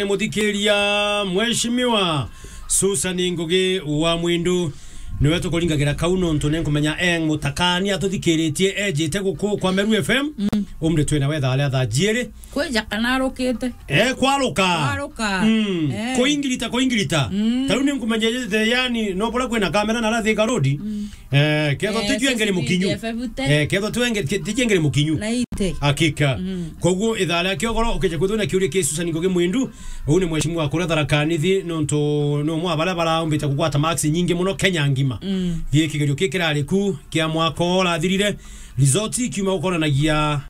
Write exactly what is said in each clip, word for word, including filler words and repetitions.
Ni muthikiria, Mheshimiwa Susan Ngugi wa Mwindu, niwe tukuringagira kau nontu ni nkumenya eng mutakani atuthikiritie ejite guku kwa Meru F M. Mm. Umri twina wetha aria thaa jiiri. Kwija kana arukite? Eh, kwaruka. Kwaruka. Mm. Eh. Kuingirita, kuingirita. Mm. Tariu ni nkumenya ejite, yani, no bura kwina kamera na ara Thika Road. Mm. Eh, kethwa Eh, tijue ngeri C C T V mukinyu. F F te. Eh, kethwa tijue ngeri, tijue ngeri mukinyu. Na ite. Hakika. Mm. Koguo ithaa ria kiogoro ukija kwithwa na kiuria kia Susan Ngugi Mwindu, uu ni mheshimiwa kuria Tharaka Nithi, nontu ni umwe wa baria baraumbite kugwata marks nyingi muno Kenya ngima. Mm. Gi kigerio ki kirari ku kia mwaka urathirire, result ikiuma gukoranagia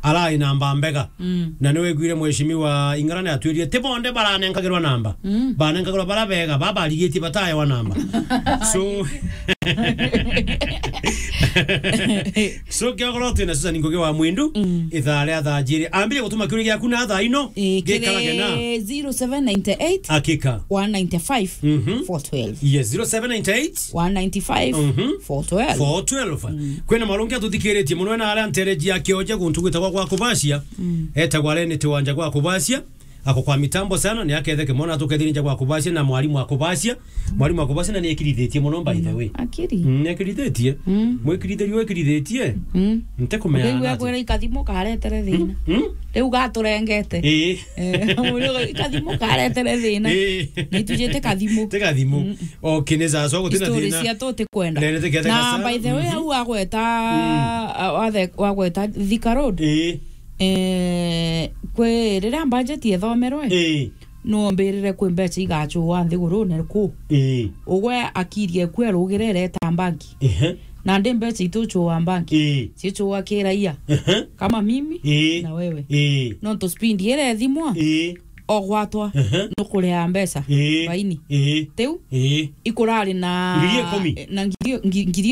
arai namba mbega. Mm. Na ni wiguire mheshimiwa Ing'ara ni atwirire ti bonde baranenkagirwa namba. Mm. Banenkagirwa bara bega, baba arigitie bataewa namba. So, so kiogoro twina Susan Ngugi wa Mwindu, mm, ithaa ria thaa jiiri. Ambire gutuma kiuria giaku na thaa ino, eh, gikarage na kiri zero seven nine eight, hakika, one nine five, mhm, four twelve. Yes, zero seven nine eight, one nine five, mhm, four twelve. Four twelve. Mm. Kwina marungi atuthikiritie muno na aria ntereji ya kioja guntu gwitagwa gwa kubacia. Mm. Etagwa Rene Tiwanja gwa kubacia. Ako kwa mitambo sana, ni aketheke mwana atukethirie nja gwa kubacia na mwarimu wa kubacia. Mwarimu wa kubacia na ni ekirithitie muno, by the way. Akiri. Mm, ni ekirithitie. Mm. Mwikirithiri wikirithĩtie. Mm. Nte kumenya. Riu akwira ikathimu karetere thina. Mm. Riu gaturengete. Ii. Eh, riu ikathimu karetere thina. Ii. Ni tujite kathimu. Ti kathimu. Mm. Okay, ni sawa, so gutina thina. Story cia tu ti kwenda. Nene tiketheka sana. Na by the way, mhm, au agweta, mm, a-, wathe-, wagweta Thika Road. Ii. Eh, kwi riria budget ethomerwe, ii, no mbirire kwi mbeca igacua nthigurune ku. Ii. Ugwe akiri eku erugire ireta banki. Ehe. Na ndi mbeca itucua banki. Ii. Cicua ki raia. Ehe. Kama mimi, ii, na wewe. Ii. Nontu speed iria ethimwa, ii, ogwatwa, ehe, nukuria mbeca. Ii. Faini. Ii. Tiu? Ii. Ikurari na ngiri ikumi. Na ngiri, ngi-, ngiri